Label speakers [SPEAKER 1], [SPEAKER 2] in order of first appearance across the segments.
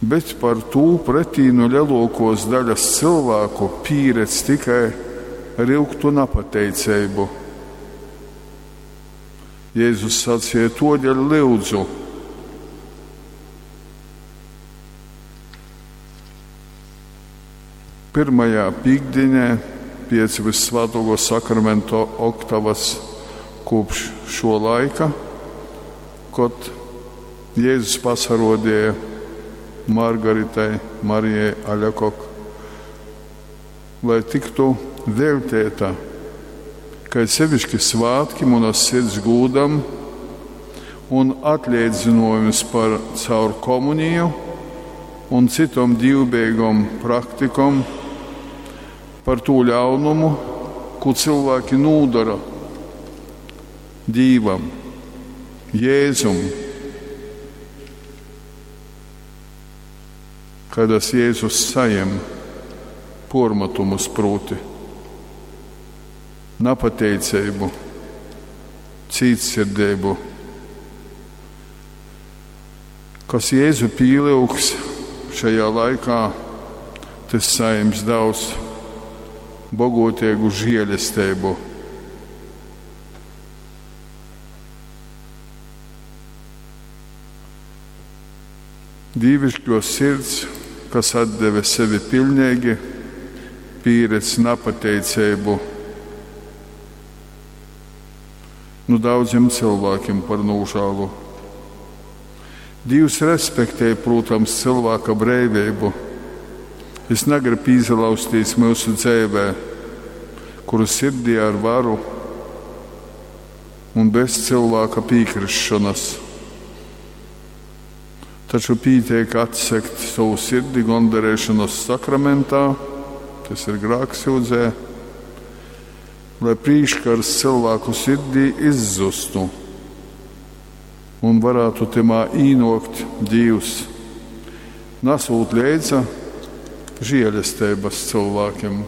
[SPEAKER 1] Bet par tū pretī nu leluokuos daļas cylvāku pīredz tikai ryugtu napateiceibu. Jezus saceja, tuodeļ lyudzu. Pyrmajā pīktdīnē piec Vyssvātuokuo Sakramento oktavas kūpš šuo laika, kod Jezus pasaruodeja Margaritai Marijai Aļakok, lai tyktu veļteita kai seviški svātki munas sirds gūdam un atleidzynojums par caur komuniju un cytom dīvbeigom praktikom par tū ļaunumu, kū cylvāki nūdora Dīvam, Jēzum, kaidas Jēzus sajem puormatumus prūti napateiceibu, cītsirdeibu. Kas Jēzu pīlyugs šajā laikā, tys sajims daudz boguoteigu žielesteibu. Dīviškuo sirds, kas atdeve sevi piļneigi, pīredz napateiceibu nu daudzim cylvākim par nūžālu. Dīvs respektē, prūtams, cylvāka breiveibu. Jis nagrib īsalauztīs myusu dzeivē, kuru sirdī ar varu un bez cylvāka pīkrisšonas. Taču pīteik atsegt sovu sirdi gondarēšanas sakramentā, tas ir grāksyudzē, lai prīškars cylvāku sirdī izzustu un varētu tymā īnuokt Dīvs, nasūt leidza žielesteibas cylvākim.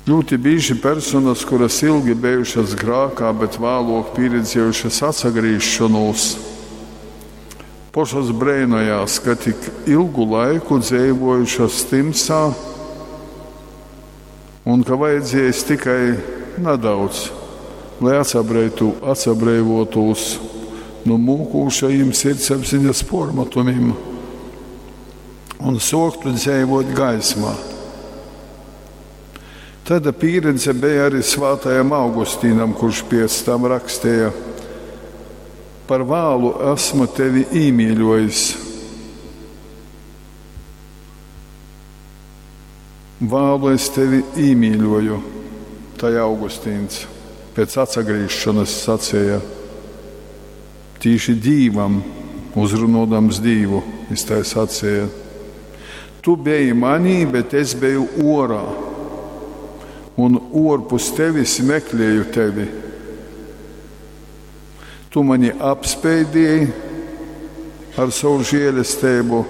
[SPEAKER 1] Ļūti bīži personas, kuras ilgi bejušas grākā, bet vāluok pīredziejušas atsagrīzšonūs, pošas breinojās, ka tik ilgu laiku dzeivuojušas tymsā un ka vajadziejs tikai nadaudz, lai atsabreivuotūs nu mūkūšajim sirdsapziņas puormatumim un suoktu dzeivuot gaismā. Taida pīredze beja arī svātajam Augustīnam, kurš piec tam raksteja: Par vālu esmu tevi īmīļuojis. Vālu es tevi īmīļoju, tai Augustīns pēc atsagrīzšonas saceja. Tīši Dīvam, uzrunuodams Dīvu, jis tai saceja: Tu beji manī, bet es beju uorā, un uorpus tevis meklēju tevi. Tu mani apspeidieji ar savu žielesteibu,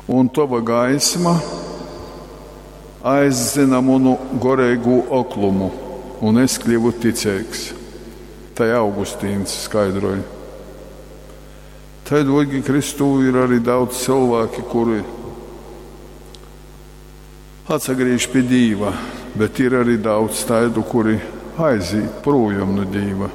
[SPEAKER 1] un tova gaisma aizdzyna munu goreigū oklumu, un es kļuvu ticeigs. Tai Augustīns skaidroj. Tai, dvorgi Kristū, ir arī daudz cilvēki, kuri atsagrīž pie Dīva, bet ir arī daudz taidu, kuri aizīt projām no Dīva.